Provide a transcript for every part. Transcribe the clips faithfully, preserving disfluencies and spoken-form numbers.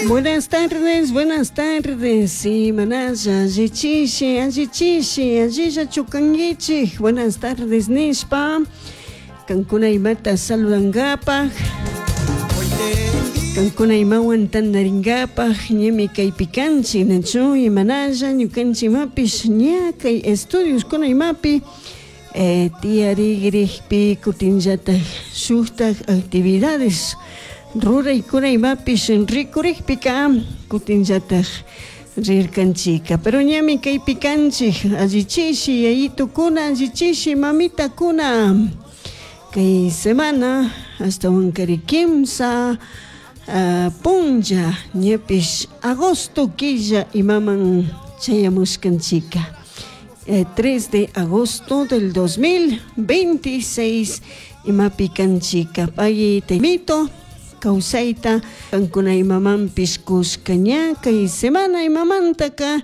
Buenas tardes, buenas tardes. Imanalla, allichishi, allichishi, allilla chukanguichik. Buenas tardes, nishpa. Kankuna imata saludangapaj. Kankuna imawan tandaringapaj, ñami kaypi kanchik, nachu imanalla, ñukanchik imapish ña kay estudios kuna imapi eh, tiyarigrikpi kutinllatak shuktak actividades ruraykuna imapish rikurikpika kutinllatak rirkanchika. Pero ñami kaypi kanchik, allichishi yayitukuna, allichishi mamitakuna. Kay semana ashtawankari kimsa uh, punlla ñapish agosto killa imaman chayamushkanchika. Eh, tres de agosto del dos mil veintiséis imapi kanchika. Pagui temito kawsayta kankuna imamanpish kushka ña kay semana imamantaka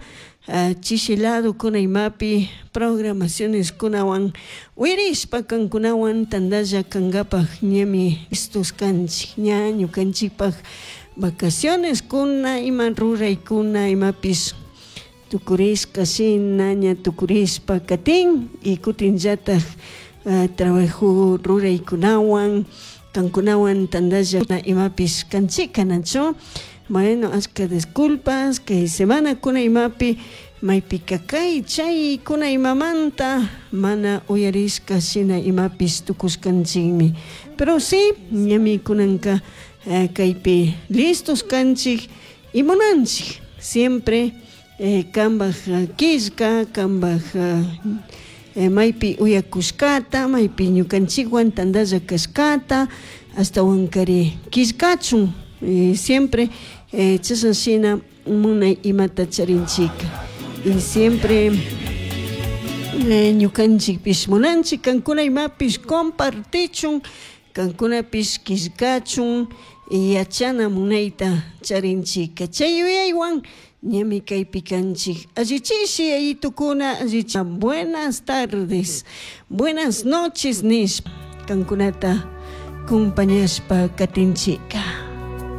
uh, chishi lado kuna imapi programaciones kunawan wirishpa kankunawan tandalla kankapaj ñami listos kanchik ña ñukanchikpaj vacaciones kuna ima ruraykuna imapish tukurishka shina ña tukurishpa katin y kutinllataj uh, trabajo ruraykunawan kankunawan tandalla imapish kanchika nachu. Bueno, ashka disculpas kay semana kuna imapi maypika kay chay kuna imamanta mana uyarishka shina imapish tukushkanchikmi. Pero sí, ñami kunanka eh, kaypi listos kanchik y munanchik siempre eh, kambaj killka, kambaj eh, maypi uyakushkata, maypi ñukanchikwan tandalla kashkata, ashtawankari killkachun eh, siempre eh, chashan shina munay imata charinchika. Y siempre eh, ñukanchikpish munanchik kankuna imapish compartichun, kankunapish killkachun yachana munayta charinchika. Chay yuyaywan ñami kaypi kanchik. Allichishi yayitukuna, allichi. Buenas tardes, buenas noches nish kankunata compañashpa katinchika.